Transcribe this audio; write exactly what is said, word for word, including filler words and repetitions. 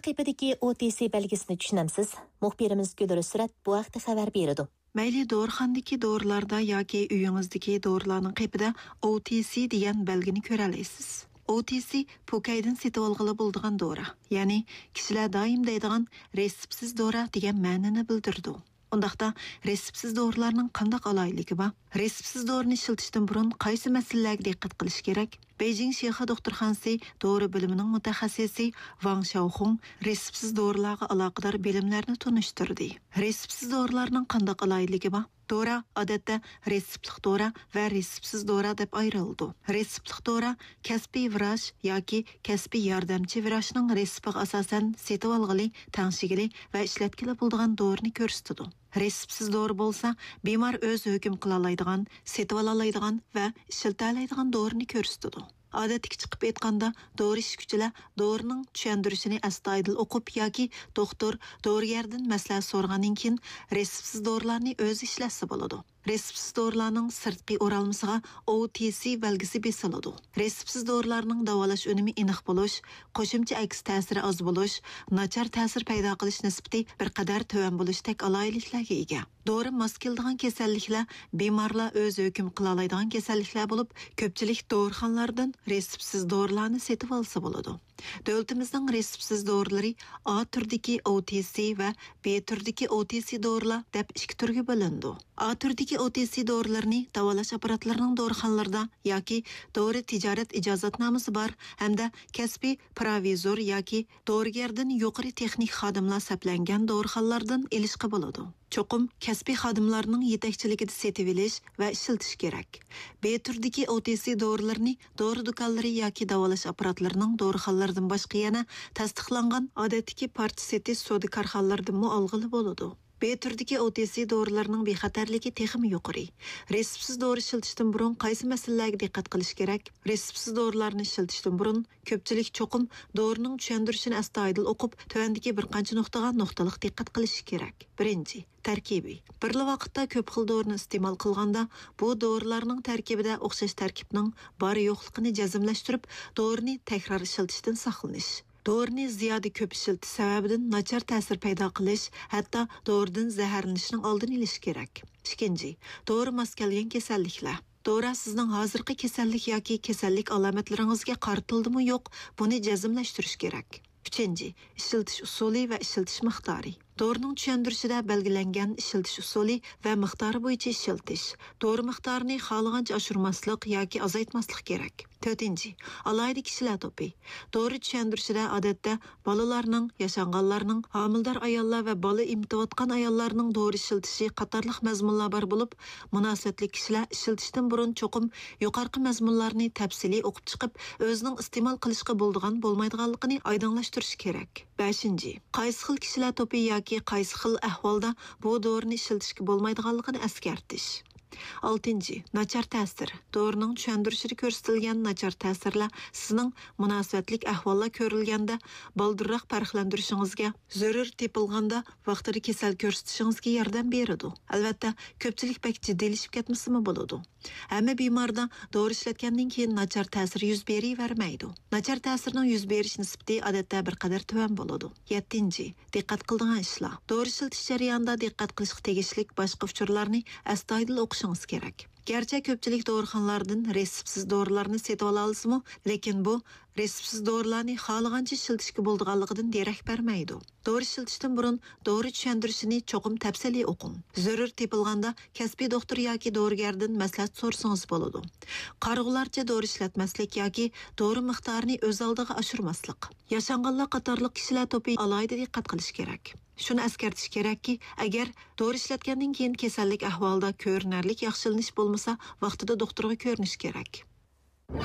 قېپىدىكى ئو تى سى بەلگىسىنى چۈشىنەمسىز؟ مۇخبىرىمىز گۈلرۈسرەت بۇ ھەقتە خەۋەر بېرىدۇ. مەيلى دورىخانىدىكى دورىلاردا ياكى ئۆيىڭىزدىكى دورىلارنىڭ قېپىدە ئو تى سى دېگەن بەلگىنى كۆرەلەيسىز. ئو تى سى پوكەيدىن سېتىۋالغىلى بولىدىغان دورا، يەنى كىشىلەر دائىم دەيدىغان رېتسېپسىز دورا دېگەن مەنىنى بىلدۈرىدۇ. ئۇنداقتا رېتسېپسىز دورىلارنىڭ قانداق ئالاھىدىلىكى بار؟ رېتسېپسىز دورىنى ئىشلىتىشتىن بۇرۇن قايسى مەسىلىلەرگە دىققەت قىلىش كېرەك؟ بېيجىڭ شىخې دوختۇرخانىسى دورا بۆلۈمىنىڭ مۇتەخەسسىسى ۋاڭ شياۋخۇڭ رېتسېپسىز دورىلارغا ئالاقىدار بىلىملەرنى تونۇشتۇردى. رېتسېپسىز دورىلارنىڭ قانداق ئالاھىدىلىكى بار؟ دورا ئادەتتە رېتسېپلىق دورا ۋە رېتسېپسىز دورا دەپ ئايرىلىدۇ. رېتسېپلىق دورا كەسپىي ۋراچ ياكى كەسپىي ياردەمچى ۋراچنىڭ رېتسېپىغا ئاساسەن سېتىۋالغىلى، تەڭشىگىلى ۋە ئىشلەتكىلى بولىدىغان دورىنى كۆرسىتىدۇ. رېتسېپسىز دورا بولسا، بىمار ئۆزى ھۆكۈم قىلالايدىغان، سېتىۋالالايدىغان ۋە ئىشلىتەلەيدىغان دورىنى كۆرسىتىدۇ. ئادەتتىكىچە قىلىپ ئېيتقاندا، دورا ئىچكۈچىلەر دورىنىڭ چۈشەندۈرۈشىنى ئەستايىدىل ئوقۇپ ياكى دوختۇر، دورىگەردىن مەسلىھەت سورىغاندىن كېيىن رېتسېپسىز دورىلارنى ئۆزى ئىشلەتسە بولىدۇ. رېتسېپسىز دورىلارنىڭ سىرتقى ئورالمىسىغا ئو تى سى بەلگىسى بېسىلىدۇ. رېتسېپسىز دورىلارنىڭ داۋالاش ئۈنۈمى ئېنىق بولۇش، قوشۇمچە ئەكس تەسىرى ئاز بولۇش، ناچار تەسىر پەيدا قىلىش نىسبىتى بىر قەدەر تۆۋەن بولۇشتەك ئالاھىدىلىكلەرگە ئىگە. دورا ماس كېلىدىغان كېسەللىكلەر بىمارلار ئۆزى ھۆكۈم قىلالايدىغان كېسەللىكلەر بولۇپ، كۆپچىلىك دورىخانىلاردىن رېتسېپسىز دورىلارنى سېتىۋالسا بولىدۇ. دۆلىتىمىزنىڭ رېتسېپسىز دورىلىرى ئا تۈردىكى ئو تى سى ۋە بې تۈردىكى ئو تى سى دورىلار دەپ ئىككى تۈرگە بۆلۈنىدۇ. ئا تۈردىكى ئو تى سى دورىلىرىنى داۋالاش ئاپپاراتلىرىنىڭ دورىخانىلىرىدا ياكى دورا تىجارەت ئىجازەتنامىسى بار ھەمدە كەسپىي پروۋىزور ياكى دورىگەردىن يۇقىرى تېخنىك خادىملار سەپلەنگەن دورىخانىلاردىن ئېلىشقا بولىدۇ. چوقۇم كەسپىي خادىملارنىڭ يېتەكچىلىكىدە سېتىۋېلىش ۋە ئىشلىتىش كېرەك. بې تۈردىكى ئو تى سى دورىلىرىنى دورا دۇكانلىرى ياكى داۋالاش ئاپپاراتلىرىنىڭ دورىخانىلىرىدىن باشقا يەنە تەستىقلانغان ئادەتتىكى پارچە سېتىش سودا كارخانىلىرىدىنمۇ ئالغىلى بولىدۇ. بې تۈردىكى ئو تى سى دورىلىرىنىڭ بىخەتەرلىكى تېخىمۇ يۇقىرى. رېتسېپسىز دورا ئىشلىتىشتىن بۇرۇن قايسى مەسىلىلەرگە دىققەت قىلىش كېرەك؟ رېتسېپسىز دورىلارنى ئىشلىتىشتىن بۇرۇن كۆپچىلىك چوقۇم دورىنىڭ چۈشەندۈرۈشىنى ئەستايىدىل ئوقۇپ، تۆۋەندىكى بىر قانچە نۇقتىغا نۇقتىلىق دىققەت قىلىشى كېرەك. بىرىنچى، تەركىبى. بىرلا ۋاقىتتا كۆپ خىل دورىنى ئىستېمال قىلغاندا، بۇ دورىلارنىڭ تەركىبىدە ئوخشاش تەركىبنىڭ بار-يوقلۇقىنى جەزملەشتۈرۈپ، دورىنى تەكرار ئىشلىتىشتىن ساقلىنىش. دورىنى زىيادە كۆپ ئىشلىتىش سەۋەبىدىن ناچار تەسىر پەيدا قىلىش، ھەتتا دورىدىن زەھەرلىنىشنىڭ ئالدىنى ئېلىش كېرەك. ئىككىنچى، دورا ماس كەلگەن كېسەللىكلەر. دورا سىزنىڭ ھازىرقى كېسەللىك ياكى كېسەللىك ئالامەتلىرىڭىزگە قارىتىلدىمۇ يوق، بۇنى جەزملەشتۈرۈش كېرەك. ئۈچىنچى، ئىشلىتىش ئۇسۇلى ۋە ئىشلىتىش مىقدارى. دورىنىڭ چۈشەندۈرۈشىدە بەلگىلەنگەن ئىشلىتىش ئۇسۇلى ۋە مىقدارى بويىچە ئىشلىتىش. دورا مىقدارىنى خالىغانچە ئاشۇرماسلىق ياكى ئازايتماسلىق كېرەك. تۆتىنچى، ئالاھىدە كىشىلەر توپى. دورا چۈشەندۈرۈشىدە ئادەتتە بالىلارنىڭ، ياشانغانلارنىڭ، ھامىلىدار ئاياللار ۋە بالا ئېمىتىۋاتقان ئاياللارنىڭ دورا ئىشلىتىشى قاتارلىق مەزمۇنلار بار بولۇپ، مۇناسىۋەتلىك كىشىلەر ئىشلىتىشتىن بۇرۇن چوقۇم يۇقىرىقى مەزمۇنلارنى تەپسىلىي ئوقۇپ چىقىپ، ئۆزىنىڭ ئىستېمال قىلىشقا بولىدىغان، بولمايدىغانلىقىنى ئايدىڭلاشتۇرۇشى كېرەك. بەشىنچى، قايسى خىل كىشىلەر توپى ياكى قايسى خىل ئەھۋالدا بۇ دورىنى ئىشلىتىشكە بولمايدىغانلىقىنى ئەسكەرتىش. ئالتىنچى، ناچار تەسىر. دورىنىڭ چۈشەندۈرۈشىدە كۆرسىتىلگەن ناچار تەسىرلەر سىزنىڭ مۇناسىۋەتلىك ئەھۋاللار كۆرۈلگەندە بالدۇرراق پەرقلەندۈرۈشىڭىزگە، زۆرۈر تېپىلغاندا ۋاقتىدا كېسەل كۆرسىتىشىڭىزگە ياردەم بېرىدۇ. ئەلۋەتتە، كۆپچىلىك بەك جىددىيلىشىپ كەتمىسىمۇ بولىدۇ. ھەممە بىماردا دورا ئىشلەتكەندىن كېيىن ناچار تەسىر يۈز بېرىۋەرمەيدۇ. ناچار تەسىرنىڭ يۈز بېرىش نىسبىتى ئادەتتە بىر قەدەر تۆۋەن بولىدۇ. يەتتىنچى، دىققەت قىلىدىغان ئىشلار. دورا ئىشلىتىش جەريانىدا دىققەت قىلىشقا تېگىشلىك باشقا ئۇچۇرلارنى ئەستايىدىل ئوقۇشىڭىز كېرەك. گەرچە كۆپچىلىك دورىخانىلاردىن رېتسېپسىز دورىلارنى سېتىۋالالىسىمۇ، لېكىن بۇ رېتسېپسىز دورىلارنى خالىغانچە ئىشلىتىشكە بولىدىغانلىقىدىن دېرەك بەرمەيدۇ. دورا ئىشلىتىشتىن بۇرۇن دورا چۈشەندۈرۈشىنى چوقۇم تەپسىلىي ئوقۇڭ. زۆرۈر تېپىلغاندا كەسپىي دوختۇر ياكى دورىگەردىن مەسلىھەت سورىسىڭىز بولىدۇ. قارىغۇلارچە دورا ئىشلەتمەسلىك ياكى دورا مىقدارىنى ئۆز ئالدىغا ئاشۇرماسلىق. ياشانغانلار قاتارلىق كىشىلەر توپى ئالاھىدە دىققەت قىلىشى كېرەك. شۇنى ئەسكەرتىش كېرەككى، ئەگەر دورا ئىشلەتكەندىن كېيىن كېسەللىك ئەھۋالىدا كۆرۈنەرلىك ياخشىلىنىش بولمىسا، ۋاقتىدا دوختۇرغا كۆرۈنۈش كېرەك.